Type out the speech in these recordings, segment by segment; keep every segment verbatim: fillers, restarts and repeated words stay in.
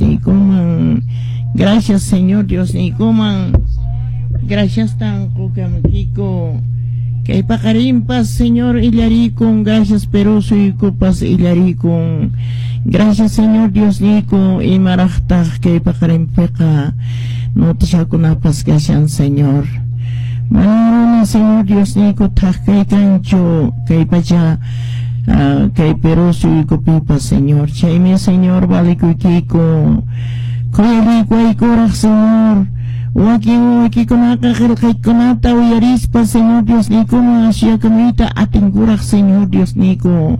Niykuman. Gracias, Señor Dios niykuman. Gracias tan qukamkiku. Kay paqarinpas, Señor, illarikun. Gracias, Perú suyukupas illarikun. Gracias, Señor Dios niyku. Imaraqtaq kay paqarinpiqa notishakunapas kashan, Señor. Mana, Señor Dios niyku, thak kay kanchu kay pacha uh, kay Perú suyukupipas, Señor. Chaymi, Señor, valikuykiku. Khuyarikuwaykuraq, Señor. Wakin wakikunaqa qillqaykunata uyarispa, Señor Dios niykuman asyakamuyta atinkuraq, Señor Dios niyku.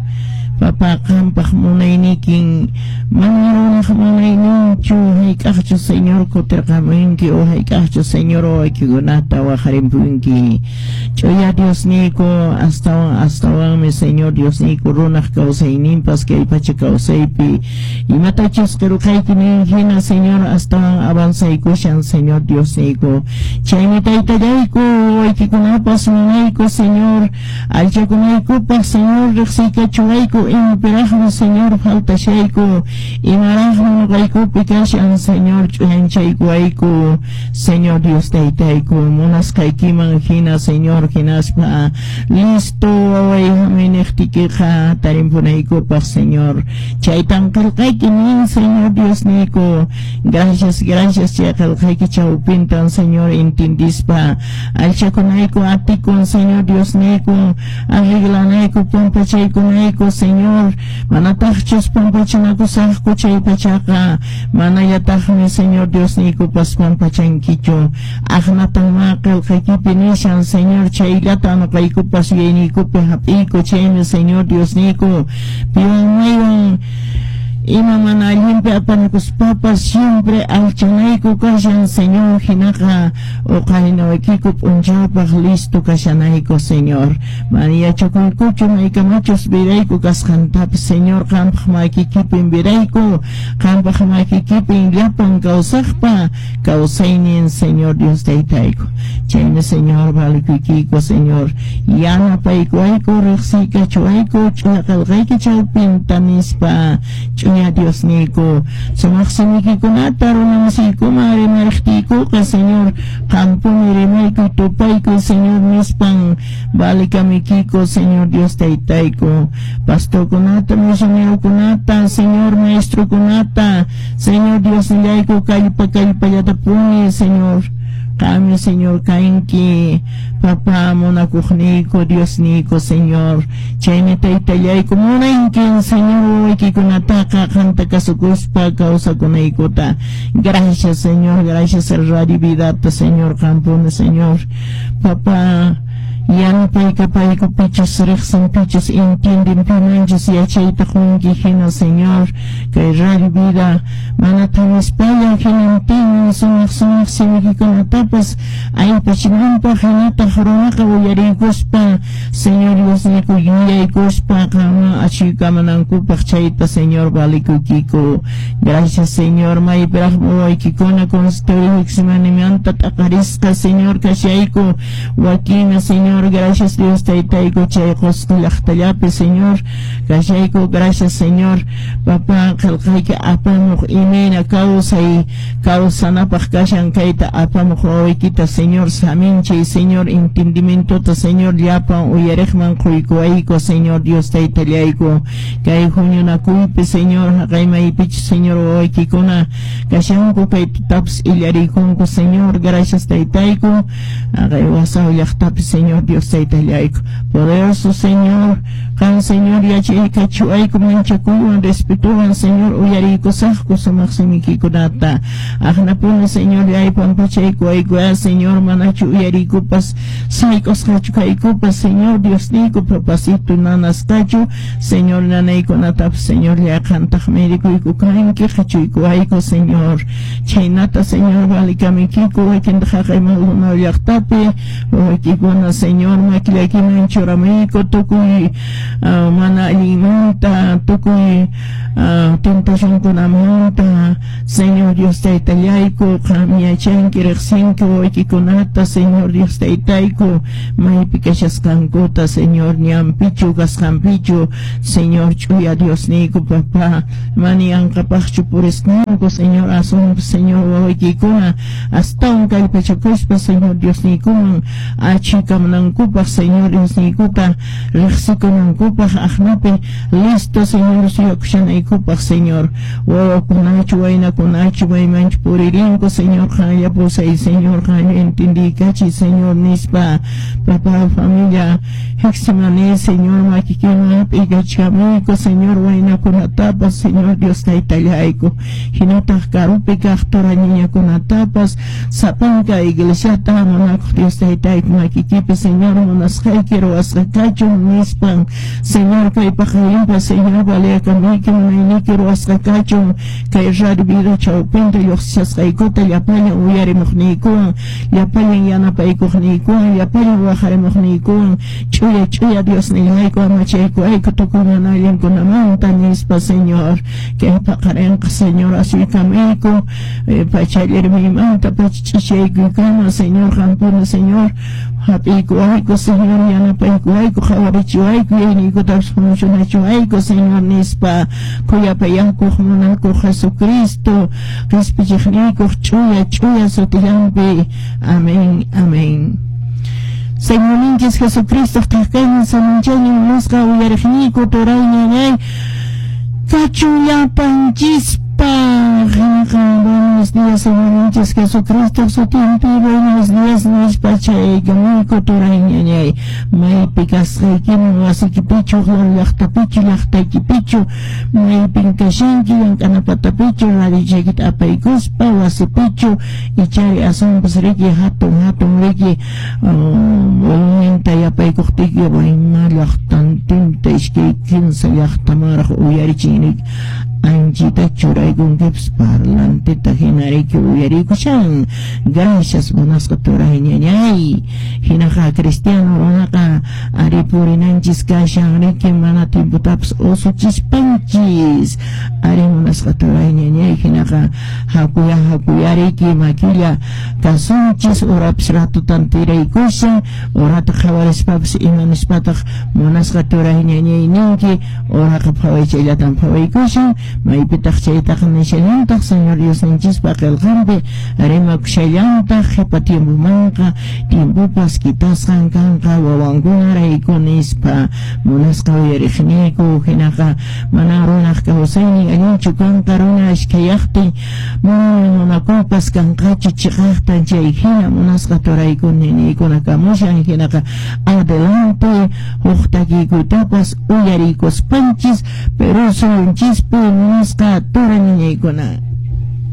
Papá, qampaq munaynikin mana runaq munayninchu hayk'aqchu, Señor, kutirqamunki o hayk'aqchu, Señor, wakikunata waqarimpunki. Ch'uya Dios niyku, astawan astawanmi, Señor Dios niyku, runaq kawsayninpas kay pacha kawsaypi imatachus qillqayki nin hina, Señor, astawan avanzaykushan, Señor Dios niyku. Chaymi, taytallayku, waykikunapas munayku, Señor, allchakunaykupaq, Señor, riqsiykachuwayku imapiraqmi, Señor, faltashayku, imaraqmi nuqaykupi kashan, Señor, ch'uyanchaykuwayku, Señor Dios taytayku, munasqaykiman hina, Señor, hinaspa listo waway hamuy niqtiykiqa tarimpunaykupaq, Señor. Chaytan qillqayki nin, Señor Dios niyku. Gracias, gracias, chay qillqayki chawpintan, Señor, intindispa allchakunayku atikun, Señor Dios niyku, arreglanayku, pampachaykunayku, Señor. Manataqchus pampachanakusaqku chay pachaqa manallataqmi, Señor Dios niykupas, pampachankichu. Aqnatan ma qillqaykipi nishan, Señor, chayllata nuqaykupas yuyayniykupi hap'iyku. Chaymi, Señor Dios niyku, piwan maywan ima mana allinpi apanakuspapas siempre alchanayku kashan, Señor, hinaqa uqarinawaykiku p'unchawpaq listo kashanayku, Señor. Mana yachakuykuchu maykamachus virayku kasqantapis, Señor, qampaq makiykipin virayku, qampaq makiykipin llapan kawsaqpa kawsaynin, Señor Dios taytayku. Chaymi, Señor, valikuykiku, Señor, yanapaykuwayku, riqsiykachuwayku ch'uya qillqayki chawpinta nispa, ch'uya Dios niyku, sumaq simiykikunata runamasiykuman rimariqtiykuqa, Señor, qampuni rimayku, tupayku, Señor, nispan valikamiykiku, Señor Dios taytayku. Pastorkunata, misionerokunata, Señor, maestrokunata, Señor Dios nillayku, kallpa kallpallatapuni, Señor. Qami, Señor, kanki, papá munakuqniyku, Dios niyku, Señor. Chaymi, taytallayku, munaykin, Señor, wawaykikunataqa qanta kasukuspa kawsakunaykuta. Gracias, Señor, gracias el Radio Vidata, Señor, qampuni, Señor. Papá, yanapayka pichus riqsin, pichus entienden, pimanchus yachayta qunki hina, Señor, kay Radio Vida mana tanispalla hinantin sumaq sumaq simiykikunatapas aypachinanpaq, hinataq runaqa uyariykuspa, Señor Dios niyku, yuyaykuspa qanman achuykamanankupaq. Chayta, Señor, valikuykiku. Gracias, Señor. Maypiraqmi wawaykikuna consultorio Getsemanímanta t'aqarisqa, Señor, kashayku wakinmi, Señor. Gracias, Dios taytayku, chay Qusqu llaqtallapi, Señor, kashayku. Gracias, Señor. Papá, qillqayki apamuq imayna kawsay kawsanapaq kashan kayta apamuq wawaykita, Señor, saminchay, Señor, entendimientota, Señor, llapan uyariqman quykuwayku, Señor Dios taytallayku. Kay huñunakuypi, Señor, haqay maypichus, Señor, wawaykikuna kashanku, kay tutapas illarikunku, Señor, gracias, taytayku, haqay wasaw llaqtapi, Señor Dios taytallayku. Poderoso Señor, qan, Señor, yachaykachuwayku manchakuywan respetuwan, Señor, uyariykusaqku sumaq simiykikunata. Aqnapuni, Señor, llay pampachaykuwayku, Señor, manachu uyariykupas sayk'usqachu kaykupas, Señor Dios niyku, papasito nanasqachu, Señor, nanaykunatapas, Señor, llaqantaq medikuyku kanki, qhichuykuwayku, Señor. Chhaynata, Señor, valikamiykiku. Wakintaq haqay Maldonado llaqtapi wawaykikuna, Señor, makillaykiman churamuyku tukuy uh, mana allinmanta, tukuy uh, tentacionkunamanta. Señor Dios taytallayku, qam yachanki riqsinki wawaykikunata, Señor Dios taytayku, maypi kashasqankuta, Señor, ñanpichu kasqanpichu, Señor, ch'uya Diosniyku, papá, mana yanqapaqchu purisqanku, Señor, asunpas, Señor, wawaykikuna astawan kallpachakuspa, Señor Diosniykuman achikamunankupaq, Señor Diosniykuta riqsikunankupaq, aqnapi listo, Señor, suyakushanaykupaq, Señor, wawakunachu, waynakunachu, maymanchu puririnku, Señor, qanlla pusay, Señor, qanlla entendiykachiy, Señor, nispa, papá, familia, Getsemaní, Señor, makikiman hap'ikachkamuyku, Señor, waynakunatapas, Señor Dios taytallayku, hinataq karupi kaq turañiñakunatapas, sapanka iglesiata munakuq Dios taytayku makikipi, Señor, munasqayki ruwasqa kachun, nispan, Señor, kay paqarinpas, Señor, valiakamuyki munayniyki ruwasqa kachun, kay radio vida chawpinta lluqsishasqaykuta llapallan uyarimuqniykuwan, llapallan yanapaykuqniykuwan, llapallan waqarimuqniykuwan, ch'uya ch'uya Diosnillayku amachaykuwayku tukuy mana allinkunamanta, nispa, Señor, kay paqarinqa, Señor, asuykamuyku, pachallirmaymanta pacha ch'ichaykuykama, Señor, qampuni, Señor, hap'iykuwayku, Señor, yanapaykuwayku, qhawarichiwayku, yuyayniykutapas funcionachiwayku, Señor, nispa, khuyapayakuq munakuq Jesucristo, qispichiqniykuq ch'uya ch'uya sutillanpi. Amén, amén. Señorninchis Jesucristo thaqkaynin samanchaynin munasqa uyariqniyku turay ñañay kachun llapanchispaq. Buenos días, Señorninchis Jesucristo sutinpi, buenos días nispa chaykamuyku turay ñañay, maypi kasqaykiman, wasikipichu, llaqtapichu, llaqtaykipichu, maypin kashanki, llank'ana patapichu, radiochaykita apaykuspa, wasipichu, ichari asunpas riki hatun hatun riki volumenta yapaykuqtiyki wayma llaqtantinta iskay kinsa llaqtamanraq uyarichin riki, anchita churaykunkipas parlanteta hina riki uyarikushan. Gracias, munasqa turay ñañay. Hinaqa cristiano runaqa ari purinanchis kashan riki, mana tiempotapas usuchispanchis. Ari munasqa turay ñañay, hinaqa hakuya hakuya riki makilla kasunchis, urapis ratutan tiraykushan, urata qhawarispapas ima nispataq munasqa turay ñañay ninki, uraqa phawaychallatan phawaykushan, maypitaq chaytaqa nishallantaq Señor Diosninchispa qillqanpi rimakushallantaq, qhipa tiempomanqa tiempopas kitasqan kanqa wawankunarayku nispa, munasqa uyariqniyku. Hinaqa mana runaq kawsaynin allinchu kanqa, runa ashkhayaqtin mana munakuypas kanqachu chiqaqtan, chay hina munasqa turayku niniykuna kamushan. Hinaqa adelante huk takiykuytapas uyariykuspanchis, pero suyunchispi munasqa tura niñaykuna.